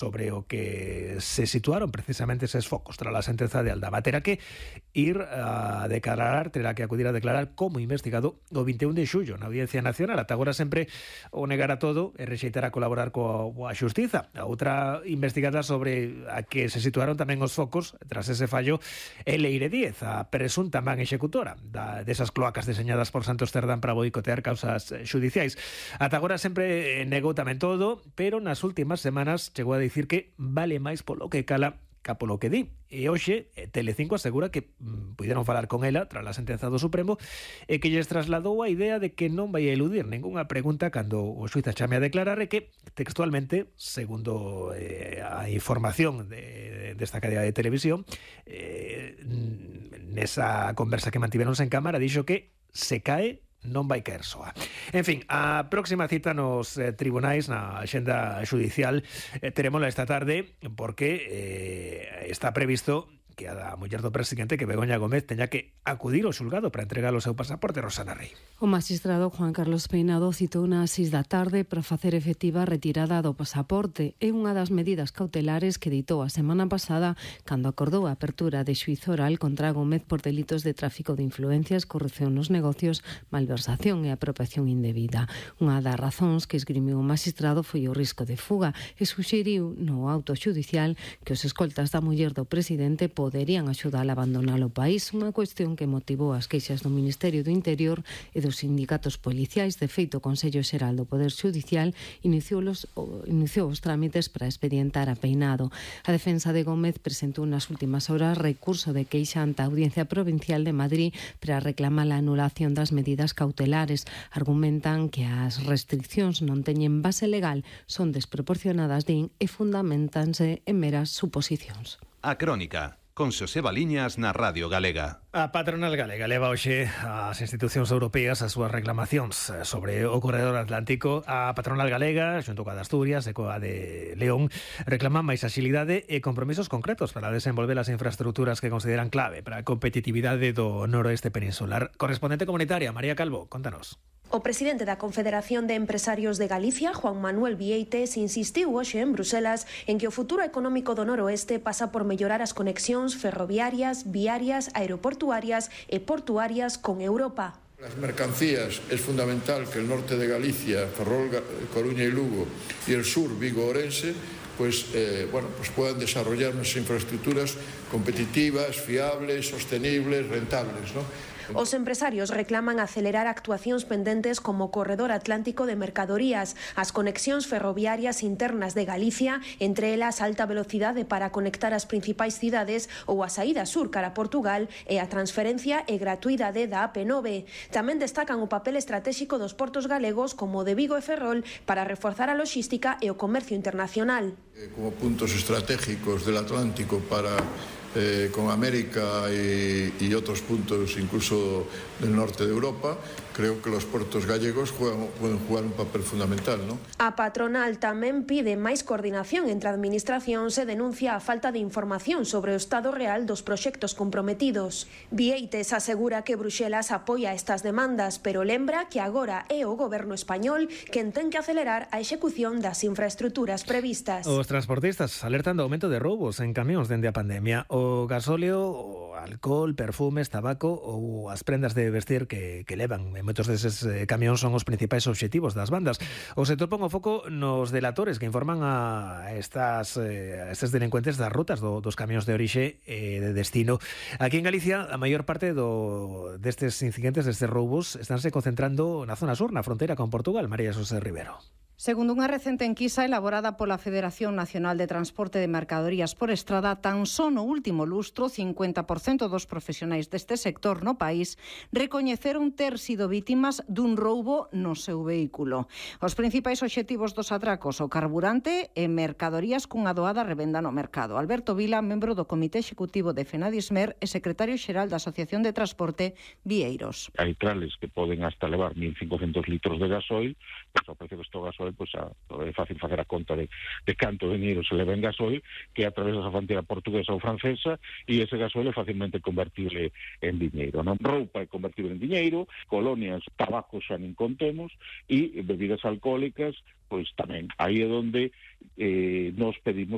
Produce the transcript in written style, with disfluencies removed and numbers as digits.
sobre o que se situaron precisamente eses focos tras a sentenza de Aldama. Terá que ir a declarar, terá que acudir a declarar como investigado o 21 de xullo na Audiencia Nacional. Ata agora sempre o negara todo e rexeitará colaborar coa xustiza. A outra investigada sobre a que se situaron tamén os focos tras ese fallo é Leire Díez, a presunta man executora desas cloacas deseñadas por Santos Cerdán para boicotear causas xudiciais. Ata agora sempre negou tamén todo, pero nas últimas semanas chegou a dicir que vale máis polo que cala ca polo que di. E hoxe Telecinco asegura que puderon falar con ela tras a sentenza do Supremo e que lles trasladou a idea de que non vai a eludir ningunha pregunta cando o xuiz a chame a declarar e que textualmente, segundo a información desta cadea de televisión, nesa conversa que mantiveronse en cámara dixo que se cae non vai caer soa. En fin, a próxima cita nos tribunais, na axenda xudicial, terémola esta tarde porque está previsto que a muller do presidente, que Begoña Gómez, teña que acudir ao xulgado para entregar o seu pasaporte. Rosana Rey. O magistrado Juan Carlos Peinado citou nas 6 da tarde para facer efectiva a retirada do pasaporte. É unha das medidas cautelares que ditou a semana pasada cando acordou a apertura de xuízo oral contra Gómez por delitos de tráfico de influencias, corrupción nos negocios, malversación e apropiación indebida. Unha das razóns que esgrimiu o magistrado foi o risco de fuga e suxeriu no auto xudicial que os escoltas da muller do presidente poderían axudar a abandonar o país, unha cuestión que motivou as queixas do Ministerio do Interior e dos sindicatos policiais. De feito, o Consello Xeral do Poder Xudicial iniciou os trámites para expedientar a Peinado. A defensa de Gómez presentou nas últimas horas recurso de queixa ante a Audiencia Provincial de Madrid para reclamar a anulación das medidas cautelares. Argumentan que as restriccións non teñen base legal, son desproporcionadas, din, e fundamentanse en meras suposicións. A Crónica, con Xosé Baliñas na Radio Galega. A patronal galega leva hoxe ás institucións europeas as súas reclamacións sobre o corredor atlántico. A patronal galega, xunto coa de Asturias e coa de León, reclaman máis axilidade e compromisos concretos para desenvolver as infraestructuras que consideran clave para a competitividade do noroeste peninsular. Correspondente comunitaria, María Calvo, contanos. O presidente da Confederación de Empresarios de Galicia, Juan Manuel Vieites, insistiu hoxe en Bruselas en que o futuro económico do noroeste pasa por mellorar as conexións ferroviarias, viarias, aeroportuarias e portuarias con Europa. Las mercancías es fundamental que el norte de Galicia, Ferrol, Coruña y Lugo, y el sur, Vigo, Orense, pues puedan desarrollar unas infraestructuras competitivas, fiables, sostenibles, rentables, ¿no? Os empresarios reclaman acelerar actuacións pendentes como o corredor atlántico de mercadorías, as conexións ferroviarias internas de Galicia, entre elas alta velocidade para conectar as principais cidades ou a saída sur cara a Portugal e a transferencia e gratuidade da AP9. Tamén destacan o papel estratégico dos portos galegos como o de Vigo e Ferrol para reforzar a logística e o comercio internacional. Como puntos estratégicos del Atlántico para con América y otros puntos incluso del norte de Europa, creo que los puertos gallegos pueden jugar un papel fundamental, ¿no? A patronal tamén pide máis coordinación entre administracións e denuncia a falta de información sobre o estado real dos proxectos comprometidos. Vieites asegura que Bruxelas apoia estas demandas, pero lembra que agora é o goberno español quen ten que acelerar a execución das infraestructuras previstas. Os transportistas alertan do aumento de roubos en camións dende a pandemia. O gasóleo, o alcohol, perfumes, tabaco ou as prendas de vestir que levan en moitos deses camións son os principais obxectivos das bandas. O sector pon o foco nos delatores que informan a estes delincuentes das rutas dos camións de orixe e de destino. Aquí en Galicia, a maior parte destes incidentes, destes roubos, estánse concentrando na zona sur, na fronteira con Portugal. María Xosé Rivero. Segundo unha recente enquisa elaborada pola Federación Nacional de Transporte de Mercadorías por Estrada, tan só no último lustro 50% dos profesionais deste sector no país recoñeceron ter sido vítimas dun roubo no seu vehículo. Os principais obxectivos dos atracos, o carburante e mercadorías cunha doada revenda no mercado. Alberto Vila, membro do Comité Executivo de Fenadismer e secretario xeral da Asociación de Transporte Vieiros. Hai trales que poden hasta levar 1.500 litros de gasoil, pois ao precio que está o gasoil, pois é fácil facer a conta de canto dinheiro se leva en gasoil, que a través da fronteira portuguesa ou francesa, e ese gasoil é facilmente convertible en diñeiro, non? Roupa é convertible en diñeiro, colonias, tabacos xa nin contemos, e bebidas alcohólicas, pois tamén. Aí é onde nos pedimos